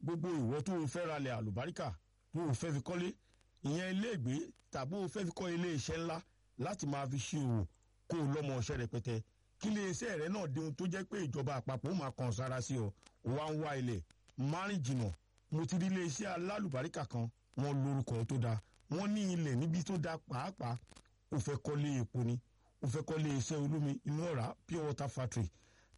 Gbogbo ìwọ tó o fẹ́ ralẹ̀ àlùbáríkà, tó o fẹ́ fi kọ́lé, ìyẹn iléègbé, tàbí o fẹ́ fi kọ́ ilé iṣẹ́ ńlá láti máa fi ṣe òwò, kó o lọ́mọ ọṣẹ́ rẹpẹtẹ, kí ilé iṣẹ́ rẹ náà di ohun tó jẹ́ pé ìjọba àpapọ̀ ó máa kàn sára sí ọ. Wá ń wá ilẹ̀ márìn jìnnà, mo ti rí ilé iṣẹ́ alálùbáríkà kan, wọ́n lórúkọ tó dáa, wọ́n ní ilẹ̀ níbi tó dáa pàápàá. O fẹ́ kọ́lé epo ni, o fẹ́ kọ́lé iṣẹ́ olómi inú ọ̀rá, pure water factory,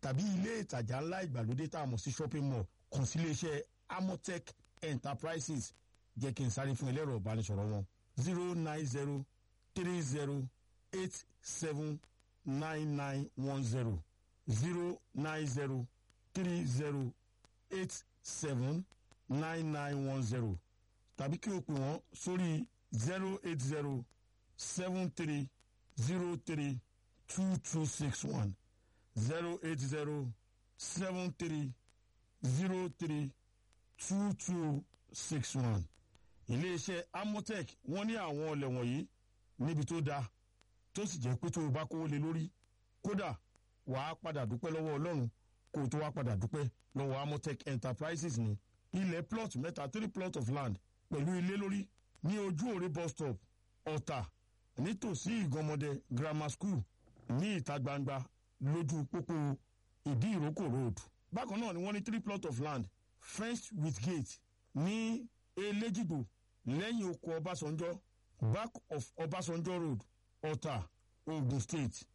tàbí ilé ìtajà ńlá ìgbàlódé tá a mọ̀ sí shopping mall, kàn sí ilé iṣẹ́ Amotech Enterprises. Jẹ́ kí n sáré fún ẹlẹ́rọ ìbánisọ̀rọ̀ wọn: 09030879910, 09030879910, tàbí kí o pè wọ́n sórí 08073032261, 08073032261. Iléeṣẹ́ Amotech, wọ́n ní àwọn ọlẹ̀ wọ̀nyí níbi tó dáa, tó sì jẹ́ pé tó o bá kówó lé lórí, kódà wàá padà dúpẹ́ lọ́wọ́ Ọlọ́run kó o tó wá padà dúpẹ́ lọ́wọ́ Amotech Enterprises. Ní ilẹ̀ plot mẹ́ta, three plot of land, pẹ̀lú ilé lórí ní Ojú Òre bus stop, Ọ̀tà, nítòsí Ìgànmọ́dẹ Grammar School, ní ìta gbangba lójú pópó Ìdí Ìrókò Road. Bákan náà ni wọ́n ní three plot of land fenced with gate ní Elégìgbò, lẹ́yìn oko Ọbásanjọ́, back of Ọbásanjọ́ Road, Ọ̀tà, Ogun State.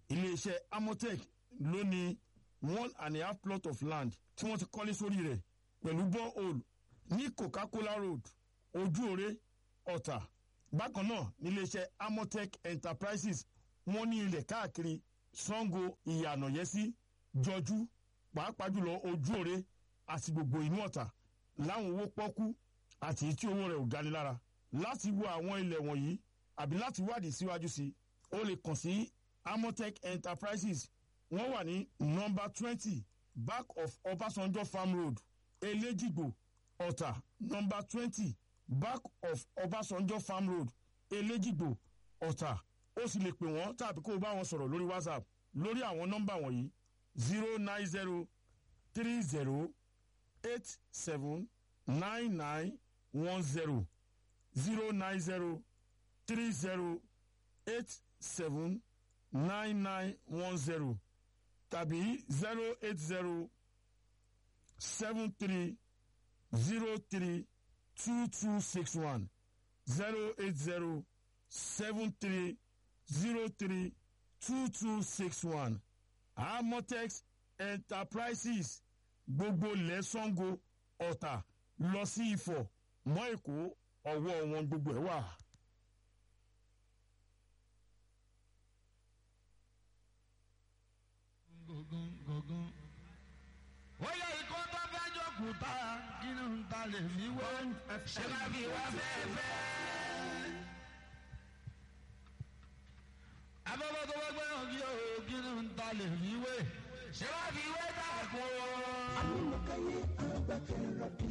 Iléeṣẹ́ Amotech ló ní 1.5 plot of land tí wọ́n ti kọ́lé sórí rẹ̀ pẹ̀lú borehole ní Coca-Cola Road, Ojúore, Ọ̀tà. Bákan náà níléeṣẹ́ Amotech Enterprises, wọ́n ní ilẹ̀ káàkiri Sango, Ìyànàyẹ́sí, Jọjú, pàápàá jùlọ Ojúore àti gbogbo inú Ọ̀tà, láwọn owó pọ́kú àti tí owó rẹ̀ ò gani lára. Láti wo àwọn ilẹ̀ wọ̀nyí àbí láti wádìí síwájú sí i, o lè kàn sí Amotech Enterprises. Wọ́n wà ní nọ́mbà 20, back of Ọbásanjọ́ Farm Road, Elégìgbò, Ọ̀tà. Nọ́mbà 20, back of Ọbásanjọ́ Farm Road, Elégìgbò, Ọ̀tà. Ó sì lè pè wọ́n tàbí kó o bá wọn sọ̀rọ̀ lórí WhatsApp lórí àwọn nọ́mbà wọ̀nyí: 09030879910, 09030879910, tàbí 08073032261, 08073032261. Amotex Enterprises, gbogbo lẹ́sàngó, Ọ̀tà lọ sí Ifọ̀ mọ́ Èkó, ọwọ́ wọn gbogbo ẹ̀ wà. Gógún. Ó yẹ ikọ́ tó fẹ́ jókòó tá kí ni n ta lè fi wé, ṣé ká fi wá fẹ́ẹ́fẹ́. Afẹ́fẹ́ tó fẹ́ gbẹ́yàn kí o, kí ni n ta lè fi wé, ṣé ká fi wé dàkún o. Amúnúkáyé agbátẹrọbì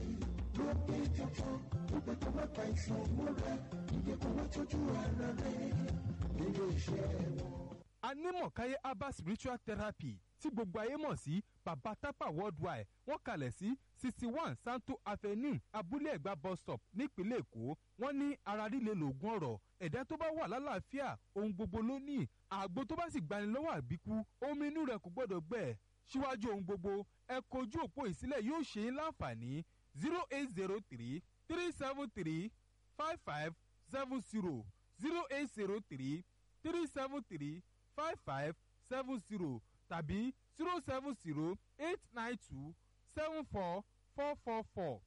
ló gbé tuntun gbogbo tó bá pa ìsàn mọ́ra ìdè kó wá tọ́jú ara rẹ̀ nílé iṣẹ́ wọn. Anímọ̀káyé herbal spiritual therapy, tí gbogbo ayé mọ̀ sí Baba Tapa Worldwide, wọ́n kalẹ̀ sí 61 Santo Avenue, Abúlé Ẹ̀gbá bus stop, nípínlẹ̀ Èkó. Wọ́n ní ara líle lògùn ọ̀rọ̀. Ẹ̀dá tó bá wà lálàáfíà, ohun gbogbo ló ní. Àgbo tó bá sì gbani lọ́wọ́ àbíkú, omi inú rẹ̀ kò gbọ́dọ̀ gbẹ. Síwájú ohun gbogbo, ẹ kojú òpó ìsílẹ̀, yóò ṣe é láǹfààní: 08033735570, 08033735570, tàbí 07089274444,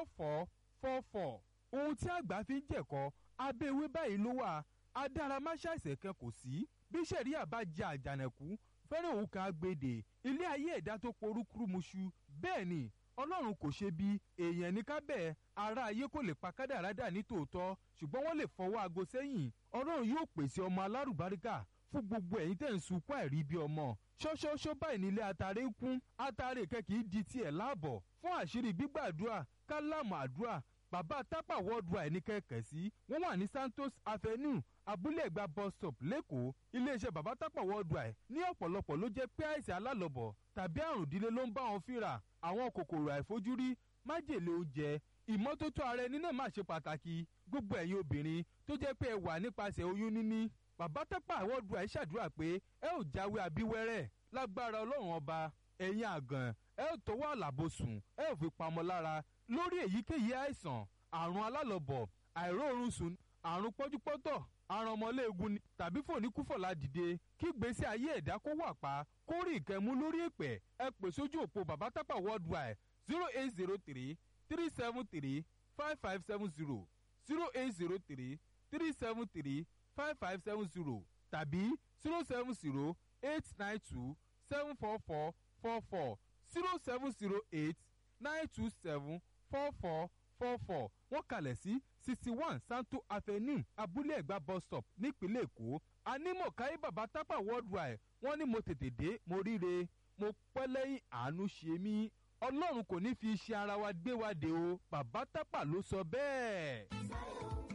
07089274444. Ohun tí àgbà fi ń jẹ̀kọ́ abẹ́ ewé báyìí ló wà. Adáramáṣàìsàn kan kò sí. Bí sẹ̀ríà bá jẹ àjànàkú fẹ́rẹ̀, òun kan agbèdè ilé ayé ẹ̀dá tó porúkúrúmuṣu. Bẹ́ẹ̀ ni Ọlọ́run kò ṣe bí èèyàn ní ká bẹ́ẹ̀. Ará ayé kò lè pa kádàrádà ní tòótọ́, ṣùgbọ́n wọ́n lè fọwọ́ aago sẹ́yìn. Ọlọ́run yóò pèsè ọmọ alárùbáríkà fún gbogbo ẹ̀yin tẹ̀ ń sunkún àìrí bí ọmọ. Ṣọ́ṣọ́ṣọ́ báyìí nílé atare ń kún, atare kẹ́kì í di tiẹ̀ láàbọ̀. Fún àṣírí gbígbàdúrà, kálámù àdúrà, Bàbá Tápà Worldwide ní kẹ̀kẹ́ sí. Wọ́n wà ní Santos Avenue. Abúlé Ẹ̀gbá bus stop lẹ́kọ̀ọ́. Iléeṣẹ́ Bàbá Tápà Worldwide ní ọ̀pọ̀lọpọ̀ ló jẹ́ pé àìsàn alálọ̀bọ̀ tàbí àrùn ìdílé ló ń bá wọn fínra. Àwọn kòkòrò àìfojúrí, májèlé oúnjẹ, ìmọ́tótó ara ẹni náà má ṣe pàtàkì. Gbogbo ẹ̀yin obìnrin tó jẹ́ pé ẹ wà nípasẹ̀ oyún níní, Bàbá Tápà Worldwide ṣàdúrà pé ẹ ò jáwé abíwẹ́rẹ́ lágbára Ọlọ́run Ọba. Ẹ̀yin àgàn, ẹ ò tọwọ́ àlàbòsùn, ẹ ò fi pamọ́ lára lórí èyíkéyìí àìsàn, àrùn alálọ̀bọ̀, àìróorun sùn, àrùn pọ́júpọ́tọ̀, àrùn ọmọléegun ni tàbí fòníkúfọ̀lá dìde kí gbèsè ayé ẹ̀dá kó wà pa, kó rí ìkẹ́mú lórí ìpẹ́. Ẹ pè sójú òpó Bàbá Tápà Worldwide 0803 373 5570, 0803 373 5570 tàbí 070 892 74444, 0708 927 4444. Wọ́n kalẹ̀ sí 61 Santo Avenue, Abúlé Ẹ̀gbá bus stop nípínlẹ̀ Èkó. Anímọ̀káyé Bàbá Tápà Worldwide, wọ́n ní mo tètè dé, mo ríre, mo pẹ́ lẹ́yìn, àánú ṣe mí. Ọlọ́run kò ní fi iṣẹ́ ara wa gbé wa dé o. Bàbá Tápà ló sọ bẹ́ẹ̀.